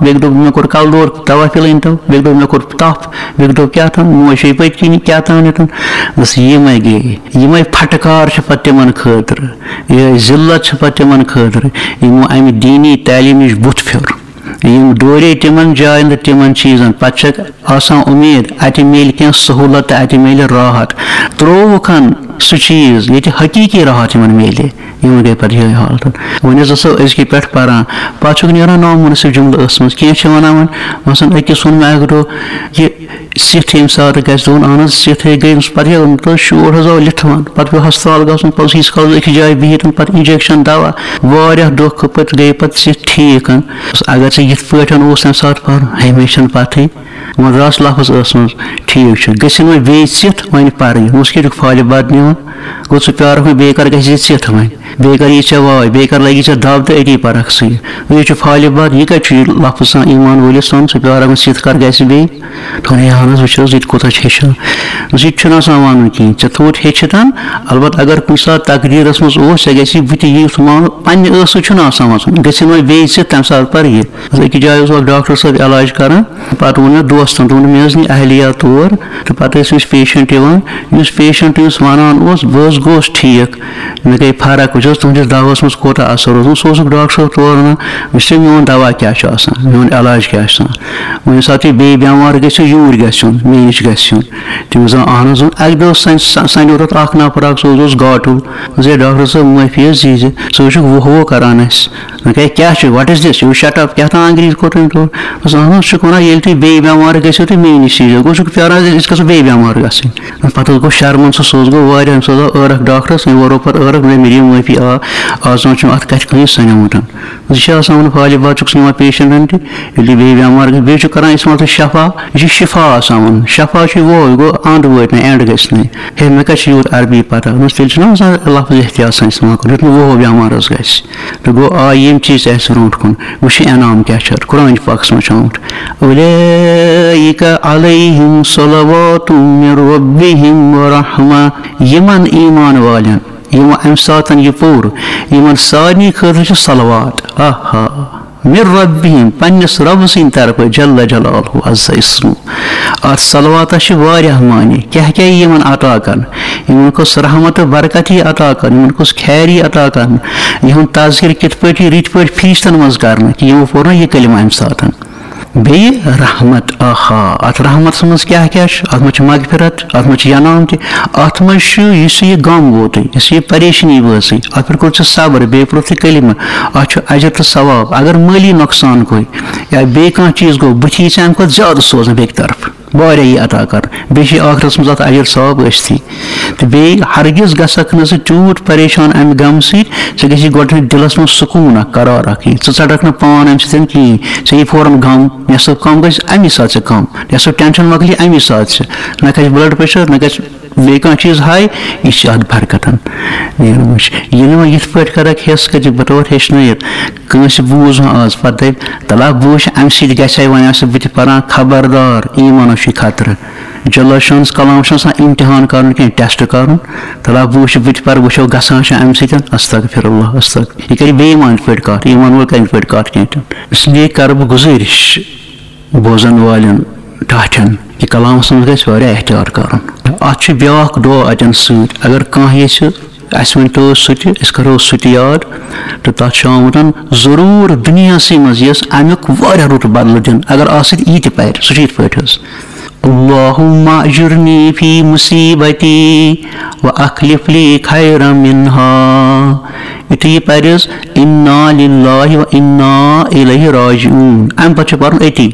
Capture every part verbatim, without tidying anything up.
بیٚکہِ دوٚپ مےٚ کوٚر کَلہٕ دود، دوا پھِلہٕ أنۍ تو، بیٚکہِ دوٚپ مےٚ کوٚر تَپھ، بیٚکہِ دوٚپ کیٛاہ تام، موج چھے پٔتۍ کِنی کیٛاہ تام ییٚتٮ۪ن۔ بس یِمَے گٔے، یِمَے پھٹکار چھِ پَتہٕ تِمَن خٲطرٕ، یِہوٚے ذلت چھِ پَتہٕ تِمَن خٲطرٕ، یِمو اَمہِ دیٖنی تعلیٖم نِش بُتھ پھیوٚر۔ یِم دورے تِمَن جایَن تہٕ تِمَن چیٖزَن، پَتہٕ چھَکھ آسان اُمید اَتہِ میلہِ کینٛہہ سہوٗلت تہٕ اَتہِ میلہِ راحت۔ ترٛووُکھ ہن سُہ چیٖز ییٚتہِ حقیٖقی راحت یِمَن میلہِ۔ یِمَن گٔے پَتہٕ یِہوٚے حالت۔ وۄنۍ حظ ٲسو أزکہِ پٮ۪ٹھ پَران، پَتہٕ چھُکھ نیران نامُنٲسِب جُملہٕ ٲسمٕژ۔ کینٛہہ چھِ وَنان وۄنۍ، مثلاً أکِس ووٚن مےٚ اَکہِ دۄہ، یہِ سِتھ ییٚمہِ ساتہٕ گژھِ، دوٚپُن، اہن حظ، سِتھ ہے گٔے أمِس۔ پَتہٕ یہِ، تہٕ شور حظ آو لِتھٕ وَن۔ پَتہٕ پیوٚو ہسپتال گژھُن، پَتہٕ اوس ییٖتِس کالَس أکِس جایہِ بِہِتھ، پَتہٕ injection، دوا، واریاہ دۄہ کھٔتۍ، پَتہٕ گٔے پَتہٕ سِتھ ٹھیٖک۔ اگر ژےٚ یِتھ پٲٹھۍ اوس تَمہِ ساتہٕ پَرُن، ہمیشہِ چھَنہٕ پَتہٕے۔ وۄنۍ درٛاس لفظ ٲسمٕژ، ٹھیٖک چھُ، گٔژھِنۍ وۄنۍ بیٚیہِ ژِتھ وۄنۍ پَرٕنۍ۔ اوس کیٛاہ چھُکھ فالہِ بد نِوان؟ گوٚو ژٕ پیٛارَکھ وۄنۍ، بیٚیہِ کَر گژھِ یہِ ژِتھ وۄنۍ، بیٚیہِ کَر یی ژےٚ واے، بیٚیہِ کَر لَگی ژےٚ دَب تہٕ أتی پَرَکھ ژٕ یہِ۔ یہِ چھُ فالہِ بد، یہِ کَتہِ چھُ یہِ لفظ آسان ایٖمان وٲلِس سُنٛد؟ ژٕ پیٛارَکھ وۄنۍ، ژِتھ کَر گژھِ بیٚیہِ؟ دوٚپُن، ہے اہن حظ، وٕچھ حظ، یہِ تہِ کوٗتاہ چھِ ہیٚچھان۔ دوٚپُس، یہِ تہِ چھُنہٕ آسان وَنُن کِہیٖنۍ، ژےٚ تھوٚوُتھ ہیٚچھِتھ، البتہ اگر کُنہِ ساتہٕ تقدیٖرَس منٛز اوس، ژےٚ گژھی بہٕ تہِ یہِ یُتھ مانُن، پنٛنہِ ٲسہٕ چھُنہٕ آسان وَسُن، گٔژھِنۍ وۄنۍ بیٚیہِ ژِتھ، تَمہِ ساتہٕ پَرٕ یہِ۔ أکِس جایہِ اوس اَکھ ڈاکٹر صٲب علاج کَران، پَتہٕ ووٚن مےٚ دوستَن، دوٚپُن، مےٚ حظ نی اہلیہ تور، تہٕ پَتہٕ ٲسۍ أمِس patient یِوان، یُس patient یُس وَنان اوس، بہٕ حظ گوس ٹھیٖک، مےٚ گٔے فرق، وٕچھ حظ تُہٕنٛدِس دوہَس منٛز کوٗتاہ اَثر اوس۔ سُہ اوسُکھ ڈاکٹر صٲب تور وَنان، وٕچھ ژےٚ میون دوا کیٛاہ چھُ آسان، میون علاج کیٛاہ چھُ آسان۔ وۄنۍ ییٚمہِ ساتہٕ تُہۍ بیٚیہِ بٮ۪مار گٔژھِو، یوٗرۍ گژھِ یُن، مےٚ نِش گژھِ یُن۔ تٔمِس زن اہن حظ اوٚن۔ اَکہِ دۄہ سَن-، سَ-، سَنیو تَتھ اَکھ نفر اَکھ، سُہ حظ اوس گاٹُل۔ دوٚپُس، ہے ڈاکٹر صٲب، معٲفی حظ دیٖزِ، ژٕ حظ چھُکھ وُہ وُہ کران اَسہِ۔ مےٚ گٔے، کیٛاہ چھُ، what is this؟ یہِ چھُ shut up، کیٛاہ تام انگریٖزۍ کوٚر تٔمۍ تورٕ۔ دوٚپُس، اہن حظ، چھُکھ وَنان، ییٚلہِ تُہۍ بیٚیہِ بٮ۪مار گٔژھِو تہٕ مےٚ نِش ییٖزیو۔ گوٚو، ژٕ چھُکھ پیٛاران زِ أسۍ گژھو بیٚیہِ بٮ۪مار گژھٕنۍ۔ پَتہٕ حظ گوٚو شرمن سُہ، سُہ حظ گوٚو واریاہ، سُہ حظ آو عٲرَکھ ڈاکٹرَس، أمۍ ووٚن پَتہٕ عٲرَکھ، دوٚپُن، مےٚ دِیِو معٲفی، آ، آز تام چھُم اَتھ کَتھِ کٲنٛسہِ سَنیومُت۔ زِ چھِ آسان وَنان، فالہِ باد چھُکھ ژٕ نِوان patient تہِ، ییٚلہِ یہِ بیٚیہِ بٮ۪مار گژھِ، بیٚیہِ چھُ کران استعمال تُہۍ شفا، یہِ چھُ شفا آسان وَنُن۔ شفا چھُ یہِ وۄہَے، گوٚو اَنٛد وٲتۍ نہٕ، end گژھِ نہٕ۔ ہے، مےٚ کَتہِ چھِ یوٗت عربی پَتہ؟ دوٚپمَس، تیٚلہِ چھُنہ آسان لفظ احتیاط سان استعمال کَرُن، یُتھ نہٕ وۄہَے بٮ۪مار حظ گژھِ۔ تہٕ گوٚو، آ، یِم چیٖز تہِ اَسہِ برونٛٹھ کُن۔ وٕچھ یہِ انعام کیٛاہ چھُ اَتھ۔ قرآن پاکَس منٛز چھُ آمُت، أولئک علیہم صلوات من ربہم ورحمہ۔ یِمَن ایمان والٮ۪ن، یِمو اَمہِ ساتَن یہِ پوٚر، یِمَن سارنٕے خٲطرٕ چھِ صلوات۔ آہا، من ربہم، پننِس رب سٕنٛدِ طرفہٕ، جل جلالہ عز اسمہ۔ اَتھ صلواتَس چھِ واریاہ معنی۔ کیٛاہ کیٛاہ یی یِمَن عطا کرنہٕ؟ یِمَن کُس رحمت تہٕ برکت یی عطا کرنہٕ؟ یِمَن کُس خیر یی عطا کرنہٕ؟ یِہُنٛد تذکرٕ کِتھ پٲٹھۍ یی رٕتۍ پٲٹھۍ فرشتن منٛز کرنہٕ، کہِ یِمو پوٚر نہ یہِ کلمہ اَمہِ ساتَن؟ بیٚیہِ رحمت، آہا، اَتھ رحمتَس منٛز کیٛاہ کیٛاہ چھُ؟ اَتھ منٛز چھِ مغفرت، اَتھ منٛز چھِ ینام تہِ، اَتھ منٛز چھُ یُس یہِ غم ووتُے، یُس یہِ پریشٲنی وٲژٕے، اَتھ پٮ۪ٹھ کوٚر ژےٚ صبر، بیٚیہِ پوٚرُتھ ژےٚ کلمہٕ، اَتھ چھُ اجر تہٕ ثواب۔ اگر مٲلی نۄقصان گوٚے یا بیٚیہِ کانٛہہ چیٖز گوٚو، بُتھِ یی ژےٚ اَمہِ کھۄتہٕ زیادٕ سوزنہٕ بیٚکہِ طرفہٕ، واریاہ یی عطا کرنہٕ، بیٚیہِ چھِ ٲخرتَس منٛز اَتھ اجر ثواب ٲسۍتھٕے۔ تہٕ بیٚیہِ ہرگز گژھکھ نہٕ ژٕ تیوٗت پریشان اَمہِ غمہٕ سۭتۍ، ژےٚ گژھی گۄڈٕنٮ۪تھ دِلَس منٛژ سکوٗن اَکھ، قرار اَکھ یی۔ ژٕ ژَٹَکھ نہٕ پان اَمہِ سۭتۍ کِہیٖنۍ۔ ژےٚ یی فوراً غم، نٮ۪صٕف غم گژھِ اَمی ساتہٕ ژےٚ کَم، نٮ۪صٕف tension مۄکلی اَمی ساتہٕ ژےٚ۔ نہ کھسہِ blood pressure، نہ گژھِ بیٚیہِ کانٛہہ چیٖز high، یہِ چھِ اَتھ برکتَن نیران وٕچھ۔ ییٚلہِ وۄنۍ یِتھ پٲٹھۍ کَرَکھ حِس کٔرِتھ بطور ہیٚچھنٲیِتھ، کٲنٛسہِ بوٗز وۄنۍ آز، پَتہٕ دَپہِ، تَلہ بہٕ وٕچھِ اَمہِ سۭتۍ گژھِ ہا وۄنۍ آسہٕ بہٕ تہِ پَران، خبردار، ایٖمانَس چھُے خطرٕ۔ جل شانس کلام چھُنہٕ آسان امتحان کرُن کینٛہہ، test کرُن۔ تلا بہٕ وٕچھِ، بہٕ تہِ پرٕ، وٕچھو گژھان چھا امہِ سۭتۍ۔ استغفر اللہ، استغفر۔ یہِ کرِ بے ایمان پٲٹھۍ کتھ، ایمان وول کرِ یِتھ پٲٹھۍ کتھ کینٛہہ تہِ۔ اس لیے کرٕ بہٕ گُزٲرِش بوزن والٮ۪ن ٹاٹھٮ۪ن کہِ کلامس منٛز گژھِ واریاہ احتیاط کرُن۔ اتھ چھُ بیاکھ دعا اتٮ۪ن سۭتۍ، اگر کانٛہہ یژھِ اسہِ ؤنۍ تو سُہ تہِ، أسۍ کرو سُہ تہِ یاد۔ تہٕ تتھ چھُ آمُت ضروٗر دُنیاہسٕے منٛز یۄس امیُک واریاہ رُت بدلہٕ دِنہٕ، اگر آسہِ تہِ یہِ تہِ پرِ، سُہ چھُ یِتھ پٲٹھۍ حظ۔ اللهم اجرني في مصيبتي واخلف لي خيرا منها۔ یُتھُے یہِ پرِ حظ، انا للہ و انا الیہ راجعون، امہِ پتہٕ چھُ پرُن أتی،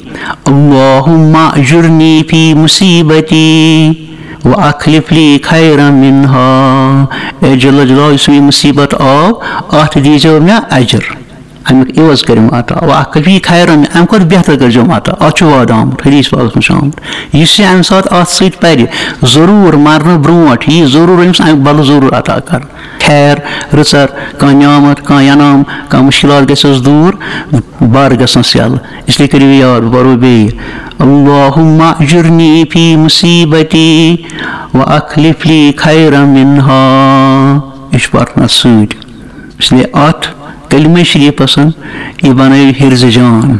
اللهم اجرني في مصيبتي واخلف لي خيرا منها۔ اے جل جلالہ، یُس مےٚ یہِ مُصیبت آو، اتھ دیٖزیو مےٚ اجر۔ اَمیُک عوض کٔرِم عطا۔ واخلف لي خيرا، اَمہِ کھۄتہٕ بہتر کٔرۍزیوم عطا۔ اَتھ چھُ وعدٕ آمُت، حدیث پاکَس منٛز چھُ آمُت۔ یُس یہِ اَمہِ ساتہٕ اَتھ سۭتۍ پَرِ، ضروٗر مَرنہٕ برونٛٹھ یی ضروٗر أمِس اَمہِ بدلہٕ ضروٗر عطا کَرنہٕ۔ خیر، رٕژَر، کانٛہہ نعمت، کانٛہہ انعام، کانٛہہ مُشکِلات گژھٮ۪س دوٗر، بار گژھنَس یَلہٕ۔ اس لیے کٔرِو یاد، بہٕ پَرو بیٚیہِ۔ اللهم اجرني في مصيبتي واخلف لي خيرا منها۔ یہِ چھُ پَرُن اَتھ سۭتۍ۔ اس لیے اَتھ کلمہ شریفس یہِ بنٲیِو حرز جان۔